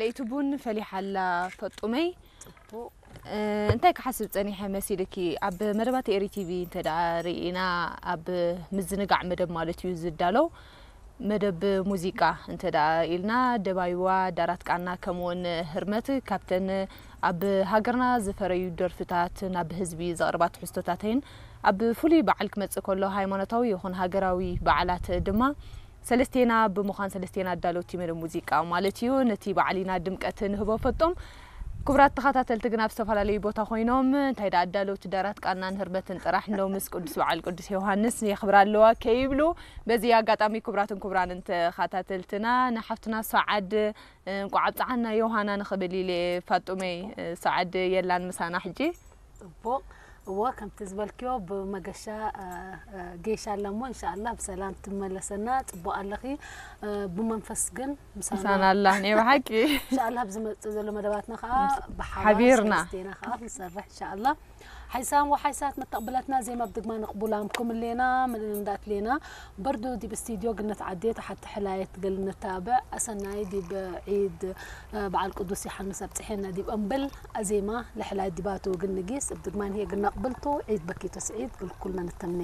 ለይቲ ቡን ፈሊሓ ኣላ ፈጡመይ። እንታይ ክሓስብ ጸኒሐ መሲልኪ? ኣብ መደባት ኤሪ ቲቪ እንተ ደኣ ርኢና፣ ኣብ ምዝንጋዕ መደብ ማለት እዩ ዝዳለው፣ መደብ ሙዚቃ እንተ ደኣ ኢልና፣ ደባይዋ፣ ዳራት ቃና፣ ከምኡውን ህርመት ካብተን ኣብ ሃገርና ዝፈረዩ ደርፍታት ናብ ህዝቢ ዘቕርባ ትሕዝቶታተይን ኣብ ፍሉይ በዓል ክመጽእ ከሎ ሃይማኖታዊ ይኹን ሃገራዊ በዓላት ድማ ሰለስቴና ብምዃን ሰለስቴና ኣዳለውቲ መደብ ሙዚቃ ማለት እዩ። ነቲ በዓል ኢና ድምቀት ንህቦ ፈጦም። ክቡራት ተኸታተልቲ ግን ኣብ ዝተፈላለዩ ቦታ ኮይኖም እንታይ ደኣ ኣዳለውቲ ዳራት ቃናን ህርመትን ጥራሕ እንዶ ምስ ቅዱስ በዓል ቅዱስ ዮሃንስ የኽብራ ኣለዋ ከይብሉ በዚ ኣጋጣሚ ክቡራትን ክቡራንን ተኸታተልትና ንሓፍትና ሰዓድ እንቋዕ ኣብጽሓና ዮሃና ንኽብል ኢለ ፋጡመይ ሰዓድ የላን ምሳና ሕጂ። ጽቡቕ። እወ ከምቲ ዝበልክዮ ብመገሻ እ፣ እ፣ ጌሻ ኣለሞ እንሻኣላ ብሰላም ትመለሰና ጽቡቕ ኣለኺ እ፣ ብመንፈስ ግን ምሳና ምሳና ኣላ ናይ ብሓቂ እንሻኣላ ኣብ ዝመጽእ ዘሎ መደባትና ከዓ ብሓባር ሓቢርና። ሰለስቴና ከዓ ክንሰርሕ እንሻኣላ ሓይሳን ወሓይሳት መተቕብለትና ዜማ ብድግማ ንቕቡላም ኩምሌና ምንንዳት ሌና በርዱ ዲብ ስቱድዮ ግነት ዓዴ ተሓቲ ሕላየት ገል ነታብዕ ኣሰናይ ዲብ ዒድ እ፣ በዓል ቅዱስ ዮሓንስ ኣብጽሐና ዲብ እምብል ኣዜማ ለሕላይ ዲባቱ ግን ንጊስ እብ ድግማን ህየ ግና ቅብልቱ ዒድ በኪቱ ስዒድ ግልኩልና ንተምኔ